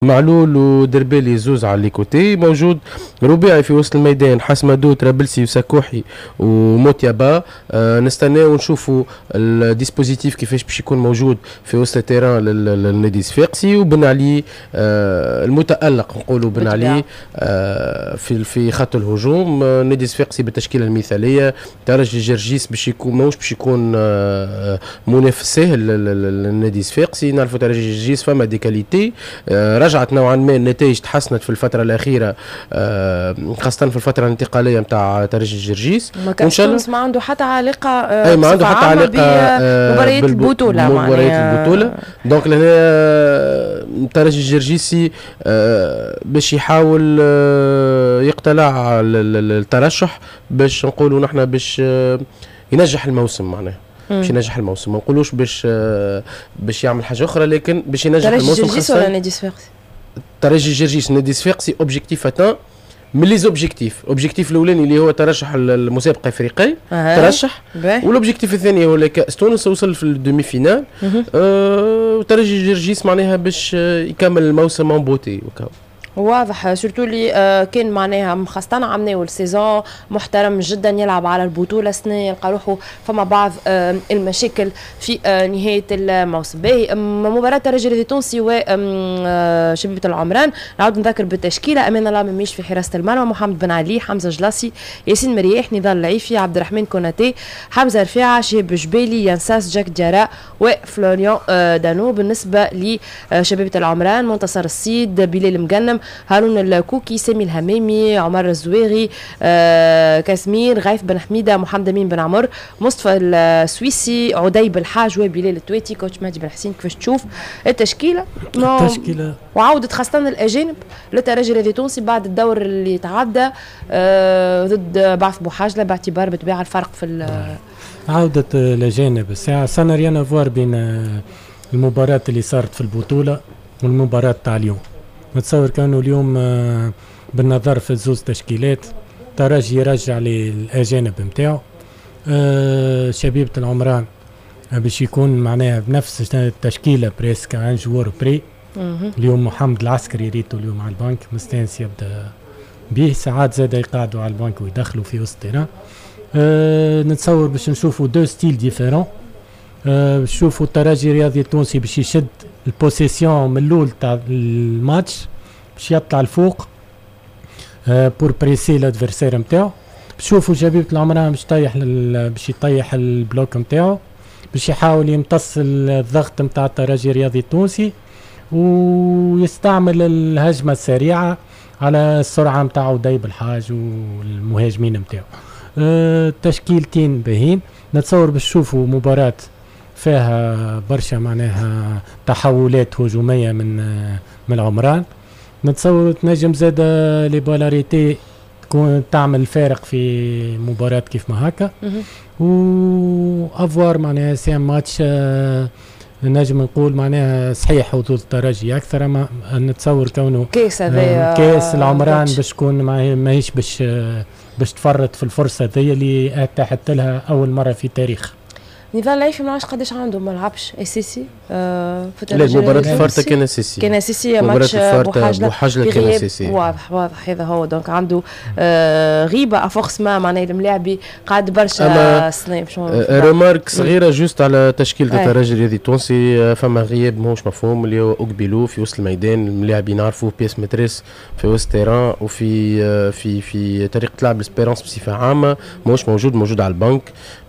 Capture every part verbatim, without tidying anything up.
معلول ودربالي زوز على les côtés، موجود رباعي في وسط الميدان حسمدو، ترابلسي وسكوحي وموتيابا. آه نستناو ونشوفوا ال dispositif كيفاش باش يكون موجود في وسط ال terrain للنادي الصفاقسي. وبن علي آه المتالق، نقولوا بن علي آه في في خط الهجوم. آه النادي الصفاقسي بالتشكيله المثاليه. ترجي جرجيس باش يكون ماهوش باش يكون آه منافس سهل للنادي الصفاقسي. نعرفوا ترجي جرجيس فما des qualités، آه رجعت نوعا ما النتائج، تحسنت في الفترة الاخيره، آه، خاصة في الفترة الانتقالية نتاع ترجي جرجيس. وان شاء الله ما عنده حتى علاقه. آه، اي ما عنده حتى علاقة آه، مباريات البطوله. مباريات البطوله، donc لهنا الترجي الجرجيسي باش يحاول يقتلع الترشح، باش نقولوا نحن باش ينجح الموسم، معناها باش ينجح الموسم، ما نقولوش باش باش يعمل حاجة اخرى، لكن باش ينجح الموسم. خاصة ولا نادي صفاقسي؟ ترجي جرجيس. نادي صفاقسي objectif atteint من les objectifs، objectif الاولاني اللي هو ترشح المسابقة الافريقية أه. ترشح، وال objectif الثاني هو كاس تونس، وصل في ال demi-finale. أه وترجي جرجيس معناها باش يكمل الموسم en beauté. واضح، surtout اللي آه، كان معناها خاصة عملناه ال saison محترم جدا، يلعب على البطولة، سنة يلقى روحه فما بعض آه، المشاكل في آه، نهاية الموسم. باهي، مباراة الترجي التونسي وشبيبة العمران، نعاود نذكر بالتشكيلة: أمان الله مميش في حراسة المرمى، محمد بن علي، حمزة جلاسي، ياسين مرياح، نضال العيفي، عبد الرحمن كوناتي، حمزة رفيعة، شهاب جبالي، ينساس، جاك ديارا وفلوريان دانو. بالنسبة لشبيبة العمران: منتصر السيد، بلال مقنم، هارون الكوكي، سامي الهمامي، عمر الزويغي، آه كاسمير، غيث بن حميده، محمد امين بن عمر، مصطفى السويسي، عدي بالحاج وبلال التويتي. coach مهدي بن حسين، كيفاش تشوف التشكيله؟ التشكيله. وعودة خاصة الأجانب للترجي الرياضي التونسي بعد الدور اللي تعدى آه ضد بعث بوحاجلة، باعتبار بطبيعة الفرق في عودة الأجانب الساعة ça n'a rien à voir بين المباراة اللي صارت في البطولة والمباراة تاع اليوم. نتصور كانوا اليوم آه، بالنظر في زوز تشكيلات، ترجي يرجع للاجانب نتاعو، آه، شبيبة العمران باش يكون معناها بنفس التشكيلة presque à un joueur près. اليوم محمد العسكري ريتو اليوم على البنك، مستانس يبدا به، ساعات زاد يقعدوا على البنك ويدخلوا في وسط terrain. أه نتصور باش نشوفوا deux styles différents. أه نشوفوا الترجي الرياضي التونسي باش يشد ال possession من الاول تاع الماتش، باش يطلع الفوق أه pour presser l'adversaire نتاعو. نشوفوا شبيبة العمران باش يطيح باش يطيح ال bloc نتاعو، باش يحاول يمتص الضغط نتاع الترجي الرياضي التونسي ويستعمل الهجمة السريعة على السرعة نتاع عدي بالحاج والمهاجمين نتاعو. أه تشكيلتين باهين، نتصور باش تشوفوا مباراة فيها برشا معناها تحولات هجومية من من العمران. نتصور تنجم زاد les balles arrêtées تكون تعمل فارق في مباراة كيف ما هكا. و à voir، معناها c'est un match آه نجم نقول معناها صحيح حظوظ الترجي اكثر، اما نتصور كونه كاس هذايا. كاس، العمران باش تكون ماهيش باش باش تفرط في الفرصة ذي اللي اتاحت لها اول مرة في تاريخ. نضال العيفي ما عرفش قداش عنده ما لعبش اساسي. آه في لا، مباراة الفارتا كان اساسي. كان اساسي ماتش بوحاجلة كان اساسي. واضح واضح، هذا هو، donc عنده آه غيبة à force ما معناها الملاعبي قعد برشا سنين. آه remarque صغيرة juste على تشكيلة الترجي الرياضي التونسي، آه، فما غياب ماهوش مفهوم اللي هو اوكبيلو في وسط الميدان. الملاعبي نعرفوه pièce maîtresse في وسط terrain وفي آه، في في طريقة لعب l'Espérance بصفة عامة، ماهوش موجود، موجود على البنك.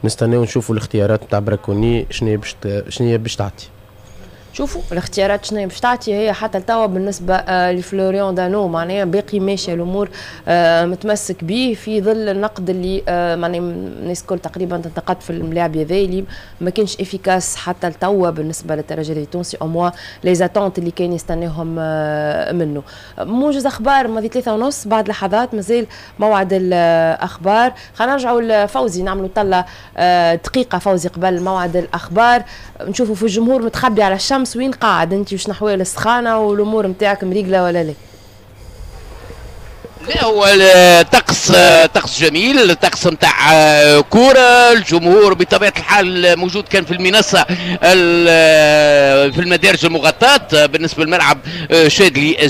نستناو نشوفوا الاختيارات نتاع براكوني شنو باش شنو باش تعطي. شوفوا الاختيارات شنو باش تعطي هي. حتى لتوا بالنسبة آه، لفلوريان دانو معناها باقي ماشية الامور، آه، متمسك به في ظل النقد اللي آه، معناها الناس الكل تقريبا تنتقد في الملاعب هذا اللي ما كانش efficace حتى لتوا بالنسبة للترجي التونسي، au moins les attentes اللي كان يستناهم منه. موجز اخبار ماضي ثلاثة ونص، بعد لحظات مازال موعد الاخبار. خلينا نرجعوا لفوزي، نعملوا طله دقيقة فوزي قبل موعد الاخبار. نشوفوا في الجمهور متخبي على الشمس، وين قاعد انت؟ وش نحوال السخانه والامور نتاعك، مريقله ولا لا؟ لا، هو الطقس طقس جميل، طقس نتاع كوره. الجمهور بطبيعة الحال موجود، كان في المنصه، في المدارج المغطاه بالنسبة للملعب شادلي.